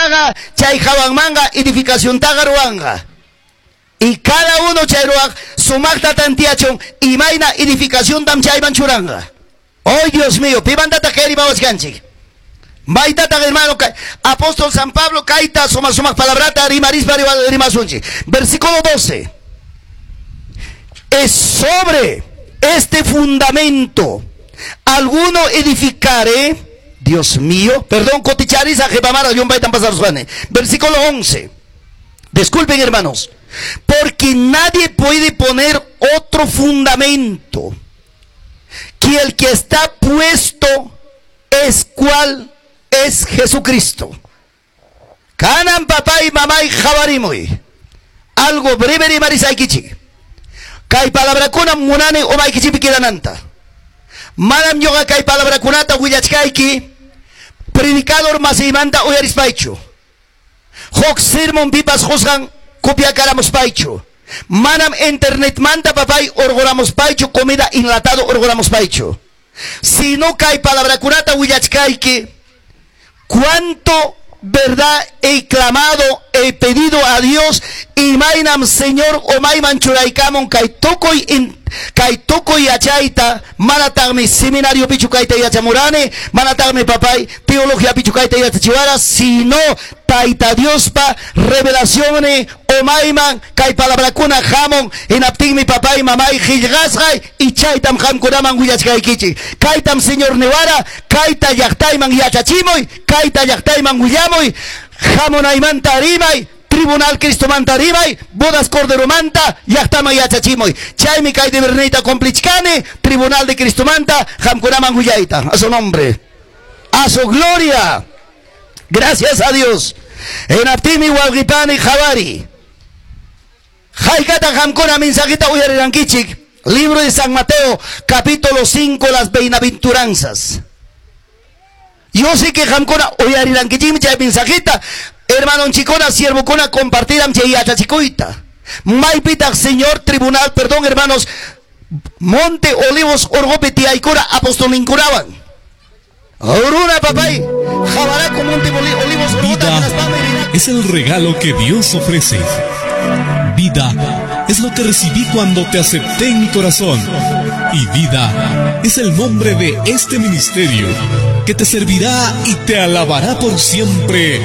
runaqa chay hawanmanqa edificaciontaqa ruwanqa. Y cada uno chay ruwaq sumaqta tantiachun imayna edificaciontam chayman churanqa. ¡Ay, Dios mío! Pimantataq kay rimawachkanchik? Maytataq, hermano, apóstol San Pablo kayta sumaq sumaq palabrata rimarispa rimasunchik. Versículo 12. Es sobre este fundamento alguno edificare, Dios mío, perdón, coticharisa jepamara llumpaytam pasarusqani. Versículo 11. Disculpen, hermanos, porque nadie puede poner otro fundamento que el que está puesto es cual es Jesucristo. Kanan papay mamay qawarimuy. Algo breve rimarisaykichik. Kay palabrakuna munani umaykichikpi quedananta. Manam ñuqa kay palabrakunata willachkayki predicador masiymanta uyarispaychu. Huk sermon pipas qusqan copiakaramuspaychu. Manam internetmanta papay urquramuspaychu comida enlatado urquramuspaychu. Sino kay palabrakunata willachkayki cuánto verdad he clamado, he pedido a Dios imaynam Señor umayman churaykamun kay tukuy kay tukuy yachayta manataqmi seminariopichu kayta yachamurani, manataqmi papay teologiapichu kayta yachachiwara, sino Tayta Diospa revelacionni umayman kay palabrakuna hamun hinaptinmi papay mamay qillqasqay y chaytam qamkunaman willachkaykichik. Kaytam Señor niwara, kayta llaqtayman yachachimuy, kayta llaqtayman willamuy, hamunaymanta rimay, Tribunal Cristomanta rimay, bodas Corderomanta llaqtaman yachachimuy. Chaymi kay deberniyta cumplichkani, Tribunal de Cristomanta qamkunaman willayta. A su nombre, a su gloria. Gracias a Dios. Hinaptinmi wawqipani qawari. Haykata qamkuna mensajita uyarirankichik. Libro de San Mateo, capítulo 5, las bienaventuranzas. Yo sé que qamkuna uyarirankichikmi chay mensajita. Hermanonchikuna, siervokuna compartiran chay yachachikuyta. Maypitaq Señor tribunal, perdón hermanos, Monte Olivos urqupi tiyaykura apostolninkunawan. Runa papay, qawaraku Monte Olivos urquta Vida hinaspami rinaku. es el regalo que Dios ofrece. Vida es lo que recibí cuando te acepté en mi corazón. Y vida es el nombre de este ministerio que te servirá y te alabará por siempre.